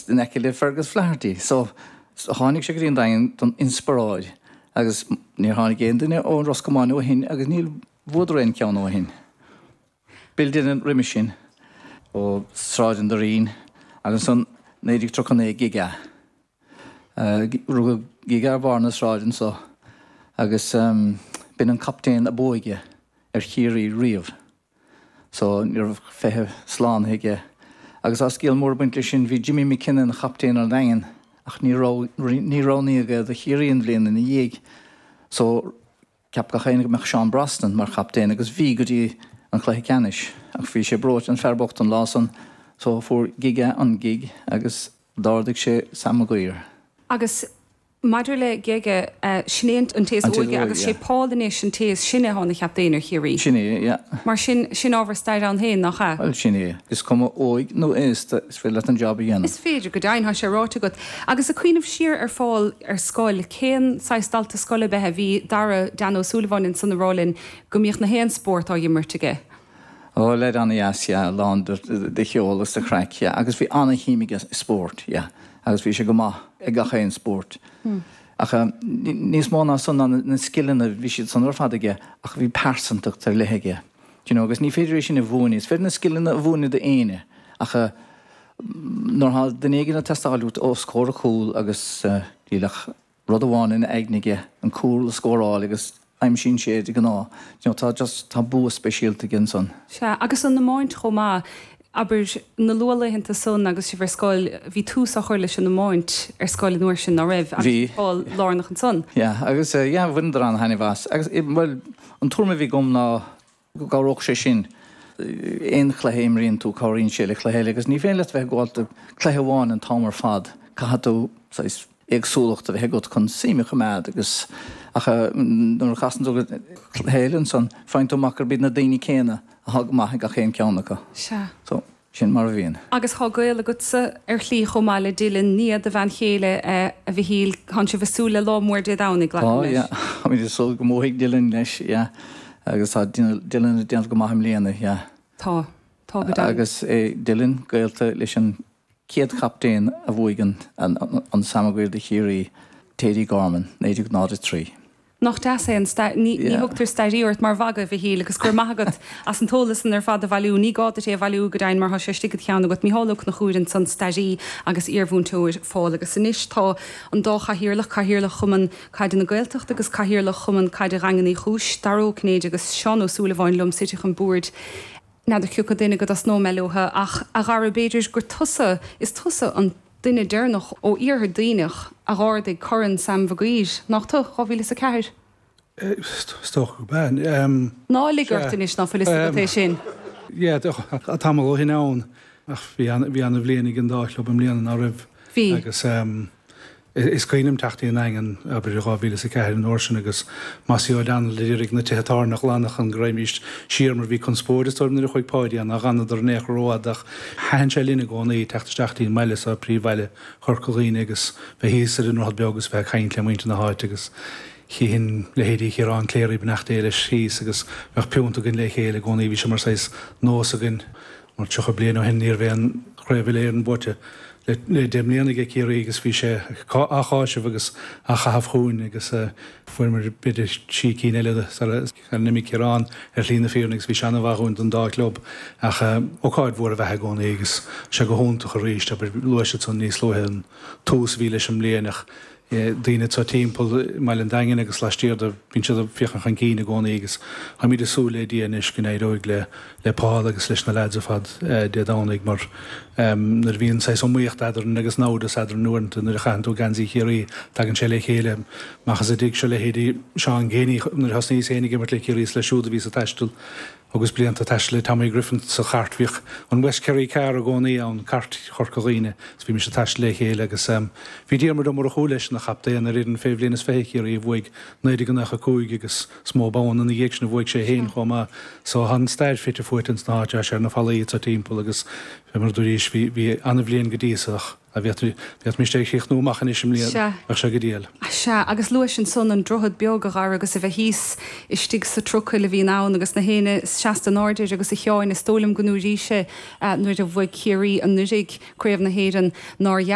in aice le Fergus Flaherty. So tháinig sé go dtí an Daingean don inspioráid agus níor tháinig aon duine ó Ros Comáin ó shin agus níor bhuadar aon cheann ó shin. Bill Dillon roimis sin ó Sráid an Doirín agus ansan 1939 Gige. Rugadh Gige ar bharr na sráide anso agus b'in an captaen ab óige ar Chiarraí riamh. So ní raibh 20 slánaithe aige. Agus tá scéal mór ag baint leis sin, bhí Jimmy McKenna ina chaptaen ar an Daingean ach ní roghnaíodh é do Chiarraí an bhliain ina dhiaidh. So Cheap gach éinne go mbeadh Seán Brosnan mar chaptaen agus bhí go dtí an cluiche ceannais ach bhí sé breoite an fear bocht an lá san so fuair Gige an gig agus d'ardaigh sé Sam Maguire. Agus maidir le Gige, sin é an té is óige agus sé Paul anois an té is sine atá ina chaptaen ar Chiarraí. Sin é, yeah. Mar sin, sin ábhar staire ann féin, nach ea? Bhuel, sin é. Is cuma óig nó aosta, is féidir leat an job a dhéanamh. Is féidir, go deimhin, tá sé ráite agat. Agus ag cuimhneamh siar ar Phól ar scoil, cén saghas dalta scoile ab ea é? Bhí Dara Dan Ó Súilleabháin ansan ag rá linn go mbíodh na haon spórt á imirt aige. Ó, leaid an-dheas, yeah, lán de cheol agus de chraic, yeah, agus bhí an-shuim aige i spórt, yeah, agus bhí sé go maith ag gach aon spórt. Ach níos mó ná san ná na scileanna, bhí siad san ar fad aige, ach bhí pearsantacht ar leith aige, do you know, agus ní féidir é sin a mhúineadh. Is féidir na scileanna a mhúineadh d'éinne, ach nuair atá duine éigin ag teastáil uait os comhair an chúil agus níl ach rud amháin ina aigne aige, an cúl a scóráil agus aimsíonn sé é de ghnáth. You know, tá just, tá bua speisialta aige ansan. Sea, agus an iomáint chomh maith. Abair, na luathlaethanta san agus sibh ar scoil, bhí tús á chur leis an iomáint ar scoil an uair sin, ná raibh? Agus bhí Paul lárnach ansan. Yeah, agus yeah, bhaineadar an-thaitneamh as. Agus, bhuel, an tuairim a bhí agam ná go gcabhródh sé sin. Aon chluiche a imríonn tú, cabhraíonn sé le cluiche eile agus ní féidir leat bheith ag gabháil do cluiche amháin an t-am ar fad. Caithfidh tú saghas éagsúlacht a bheith agat chun suim a choimeád agus ach nuair a chasann tú go cluiche eile ansan, faigheann tú amach gurb iad na daoine céanna atá go maith ag gach aon cheann acu. Sea. So. Sin mar a bhíonn. Agus tá gaol agatsa ar shlí chomh maith le Dylan, nia do bhean chéile, a Mhichíl. Tánn sibh ag súil le lá mór Dé Domhnaigh, glacaim Tá, leis. yeah. Táimid ag súil go mbuafaidh Dylan leis, yeah. Agus tá Dylan ag déanamh go maith i mbliana, yeah. Tá. Tá go deimhin. Agus é Dylan gaolta leis an chéad chaptaen a bhuaigh an an Sam Maguire do Chiarraí, Thady Gorman, 1903. Nach deas é an stair? Ní thugtar stairí ort mar mhagadh, a Mhichíl, agus go raibh maith agat as an t-eolas san ar fad a bhailiú. Ní gá duit é a bhailiú, go deimhin, mar tá sé istigh id cheann agat. Mícheál Ó Conchúir ansan, stairí agus iarmhúinteoir Phóil. Agus anois tá an dá chathaoirleach, Cathaoirleach Chumann Caide na Gaeltachta agus Cathaoirleach Chumann Caide Dhaingean Uí Chúis, Dara Ó Cinnéide agus Seán Ó Súilleabháin liom suite chun boird. N'fheadar cioca duine go dtosnóidh mé leo, ach a Dhara, b'fhéidir gur tusa, is tusa an duine deireanach ó Iarthar Duibhneach a dh'ardaigh Corn Sam Mhaguire, nach tú? 2004? Is dócha gurb ea. Ná lig ort anois ná fuil fhios agat é sin. Yeah, tá tamall ó shin ann, ach bhí an-bhliain ag an dá chlub i mbliana, ná raibh? Bhí. Agus Is cuimhin liom teacht dtí an Daingean, abair, i 2004 an uair sin agus Mossie O'Donnell ag iarraidh na tithe tábhairne a ghlanadh chun go raghaimíst siar mar bhí conspóid is dóigh liom nuair a chuaigh Páidí ann nár dh'fhanadar in aon chor rófhada ach thaitin sé linn i gcónaí teacht isteach dtí an mbaile so, príomhbhaile Chorca Dhuibhne agus bheith thíos ar an Droichead Beag agus bheith ag caint le muintir na háite agus chífinn leithéidí Chiarán Cleary, beannacht Dé leis, thíos agus bheadh piúnt againn le chéile i gcónaí, bhí sé mar saghas nós againn. Mar 30 bliain ó shin ní raibh aon chraobh uile-Éireann buaite le 10 mbliana aige Ciarraí agus bhí sé á cháiseamh agus á chaitheamh chugainn agus fuaireamar b'fhéidir trí cinn eile sara n-imigh Ciarán ar shlí na fírinne agus bhí sé an-mhaith dhúinn don dá chlub ach ócáid mhór ab ea í gcónaí agus sé go hiontach arís abair luaigh siad san níos luaithe an tús a bhí leis an mbliain ach daoine atá timpeall i mbaile an Daingin agus laistiar de, bíonn siad ag féachaint chun cinn i gcónaí agus táimid ag súil le Dia anois go n-éireoidh le le Paul agus leis na leaids ar fad Dé Domhnaigh mar nuair a bhíonn saghas iomaíocht eadrainn agus namhdas eadrainn uaireanta nuair a chaitheann tú geansaí Chiarraí tagann sé le chéile amach as an dtigh seo leithéidí Seán Geaney nuair a thosnaíos féin ag imirt le Ciarraí is leis siúd a bhíos ag taisteal Agus blianta ag taisteal le Tommy Griffin sa chairt, bhíodh an West Kerry Car i gcónaí ann, cairt Chorca Dhuibhne, is bhímis ag taisteal le chéile agus bhí Diarmuid Ó Murchú leis ina chaptaen ar fhoireann fé bhliain is 20 Chiarraí a bhuaigh 1995 agus is mó bonn ina dhiaidh sin a bhuaigh sé féin chomh maith. So tá an stair fite fuaite ins na háite, tá sé ar na fallaí atá timpeall agus fé mar a dúraís bhí bhí an-bhliain go dtí so ach Dá bhféadfaimis é a chríochnú amach anois i mbliana, Sea. bheadh sé go diail. Sea, agus luais ansan an Droichead Beag, a Dhara, agus a bheith thíos istigh sa trucail a bhíonn ann agus na héinne seasta in airde air agus a Sheáin, is dóigh liom go ndúraís-se nuair a bhuaigh Ciarraí anuiridh Craobh na hÉireann nár.